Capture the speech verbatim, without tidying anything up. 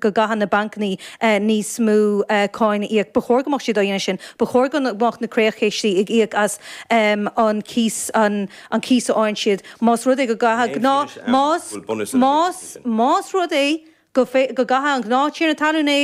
go gcaithfidh na bancanna níos mó cáin a íoc. Ba chóir go mbeadh siad á dhéanamh sin. Ba chóir go mbeadh na creachchistí ag íoc as an cíos an cíos a fhaigheann siad. Más rud é go gcaithfidh gnáth más más más rud é go gcaithfidh an gnáth-tiarna talún é